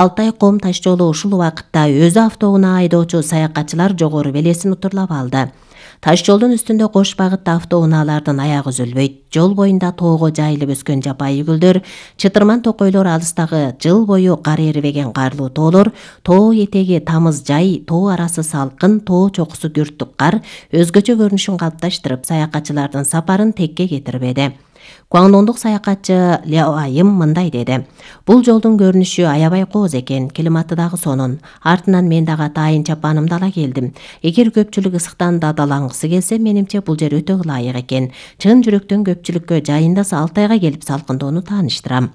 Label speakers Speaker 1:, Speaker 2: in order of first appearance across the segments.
Speaker 1: Алтай Ком таш жолу ушул убакытта өзү автоунаа айдоочу саякатчылар жогору белесин утурлап алды. Таш жолдун үстүндө кош багытта автоунаалардын аягы үзүлбөйт. Жол боюнда тоого жайылып өскөн жапайы гүлдөр, чытырман токойлор, алыстагы жыл бою кар эрибеген карлуу тоолор, тоо этеги тамыз жай, тоо арасы салкын, тоо чокусу күрттүк кар өзгөчө көрүнүшүн калыпташтырып, саякатчылардын сапарын текке кетирбеди. Гуаңдондук саякатчы Ляо Айым мындай деди: "Бул жолдун көрүнүшү аябай кооз экен, климаты дагы сонун. Артынан мен дагы атайын чапанымды ала келдим. Эгер көпчүлүк ысыктан дадалангысы келсе, менимче бул жер өтө ылайык экен. Чын жүрөктөн көпчүлүккө жайында Алтайга келип салкындоону тааныштырам."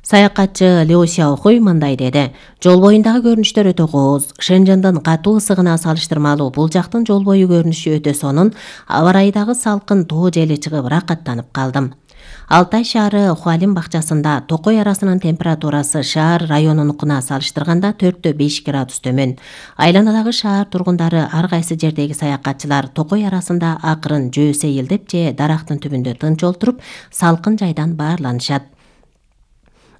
Speaker 1: Саякатчы Лю Сяохуй мындай деди: "Жол боюндагы көрүнүштөр өтө кооз. Шэнжэндин катуу ысыгына салыштырмалуу бул жактын жол бою көрүнүшү өтө сонун. Аба ырайдагы салкын тоо жели чыгып ракаттанып калдым." Алтай шаары Хуалин бакчасында токой арасынын температурасы шаар районунукуна салыштырганда 4-5 градус төмөн. Айланадагы шаар тургундары, ар кайсы жердеги саякатчылар токой арасында акырын жөө сейилдеп же дарактын түбүндө тынч олтуруп, салкын жайдан баарланышат.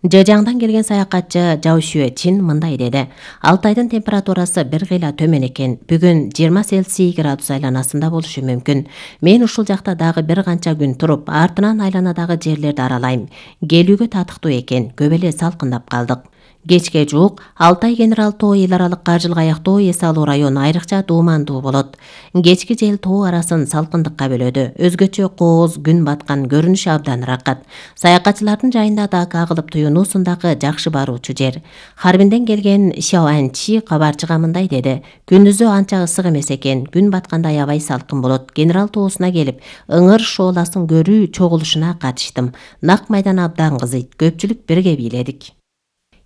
Speaker 1: Жежаңдан келген саякатчы Жао Шуэчин мындай деди: "Алтайдын температурасы бир кыйла төмөн экен. Бүгүн 20 Цельсий градус айланасында болушу мүмкүн. Мен ушул жакта дагы бир канча күн туруп, артынан айланадагы жерлерди аралайм. Келүүгө татыктуу экен. Көп эле салкындап калдык." Кечке жуук Алтай Генерал тоо эл аралык каржылык аяктоо эс алуу району айрыкча дуумандуу болот. Кечки жел тоо арасын салкындыкка бөлөдү. Өзгөчө кооз күн баткан көрүнүш абдан ракат. Саякатчылардын жайында да кагылып туюнуусундагы жакшы баруучу жер. Харбинден келген Шао Анчи кабарчыга мындай деди: "Күндүзү анча ысык эмес экен. Күн батканда аябай салкын болот. Генерал тоосуна келип, ыңыр шооласын көрүү чогулушуна катыштым. Нак майдан абдан кызыйт. Көпчүлүк бирге бийледик."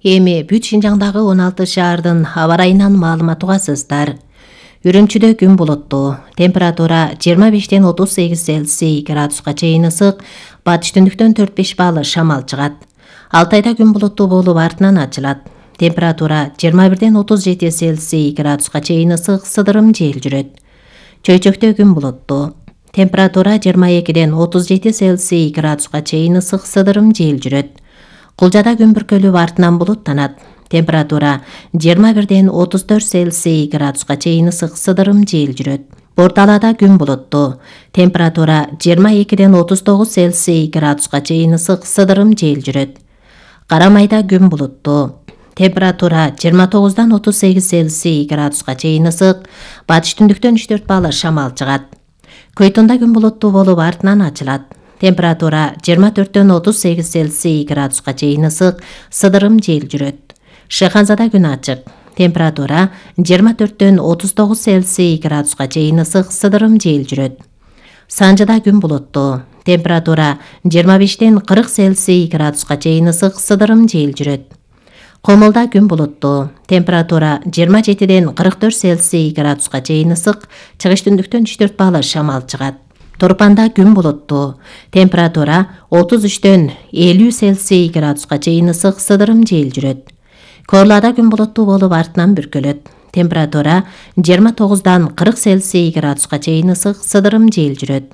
Speaker 1: Эми бүт Шинжаңдагы 16 шаардын аба ырайынан маалымат угасыздар. Үрүмчүдө күн булуттуу. Температура 25-ден 38 Цельсий градуска чейин ысык, батыш түндүктөн 4-5 балл шамал чыгат. Алтайда күн булуттуу болуп артынан ачылат. Температура 21-ден 37 Цельсий градуска чейин ысык, сыдырым жел жүрөт. Чөйчөктө күн булуттуу. Температура 22-ден 37 Цельсий градуска чейин ысык, сыдырым жел жүрөт. Кулжада күн бүркөлүп артынан булуттанат. Температура 21-ден 34 Цельсий градуска чейин ысык, сыдырым жел жүрөт. Борталада күн булуттуу. Температура 22-ден 39 Цельсий градуска чейин ысык, сыдырым жел жүрөт. Карамайда күн булуттуу. Температура 29-дан 38 Цельсий градуска чейин ысык, батыш түндүктөн 3-4 балл шамал чыгат. Көйтүндө күн булуттуу болуп артынан ачылат. Температура 24-дөн 38 Цельсий градуска чейин ысык, сыдырым жел жүрөт. Шеханзада күн ачык. Температура 24-дөн 39 Цельсий градуска чейин ысык, сыдырым жел жүрөт. Санжыда күн булуттуу. Температура 25-ден 40 Цельсий градуска чейин ысык, сыдырым жел жүрөт. Комулда күн булуттуу. Температура 27-ден 44 Цельсий градуска чейин ысык, чыгыш түндүктөн 3-4 балл шамал чыгат. Торпанда күн булуттуу. Температура 33-дөн 50 Цельсий градуска чейин ысык, сыдырым жел жүрөт. Корлада күн булуттуу болуп артынан бүркөлөт. Температура 29-дан 40 Цельсий градуска чейин ысык, сыдырым жел жүрөт.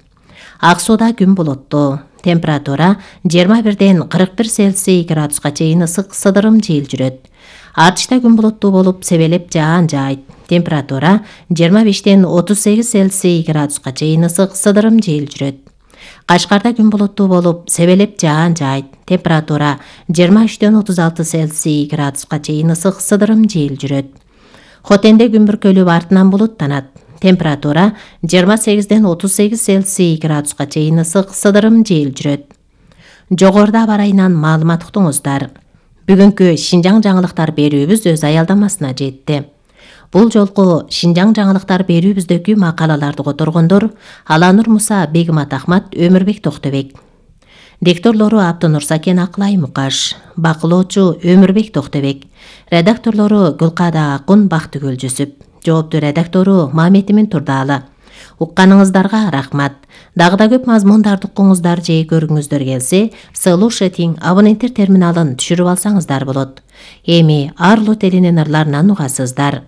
Speaker 1: Ак сууда күн булуттуу. Температура 21-ден 41 Цельсий градуска чейин ысык, сыдырым жел жүрөт. Артышта күн булуттуу болуп, себелеп жаан жаайт. Температура 25-ден 38 Цельсий градуска чейин ысык, сыдырым жел жүрөт. Кашкарда күн булуттуу болуп, себелеп жаан жаайт. Температура 23-ден 36 Цельсий градуска чейин ысык, сыдырым жел жүрөт. Хотенде күн бүркөлүп артынан булуттанат. Температура 28-ден 38 Цельсий градуска чейин ысык, сыдырым жел жүрөт. Жогоруда аба ырайынан маалымат уктуңуздар. Бүгүнкү Шинжаң жаңылыктар берүүбүз өз аялдамасына жетти. Бул жолку Шинжаң жаңылыктар берүүбүздөгү макалаларды которгондор Аланур Муса, Бегимат Ахмат, Өмүрбек Токтобек. Дикторлору Абдынур Сакен, Акылай Мукаш. Бакылоочу Өмүрбек Токтобек. Редакторлору Гүлкада Акун, Бактыгүл Жүсүп. Жооптуу редактору Маметимин Турдаалы. Укканыңыздарга рахмат. Дагы да көп мазмундарды укуңуздар же көргүңүздөр келсе, Слушатиң абоненттер терминалын түшүрүп алсаңыздар болот. Эми Арлу телинин ырларынан угасыздар.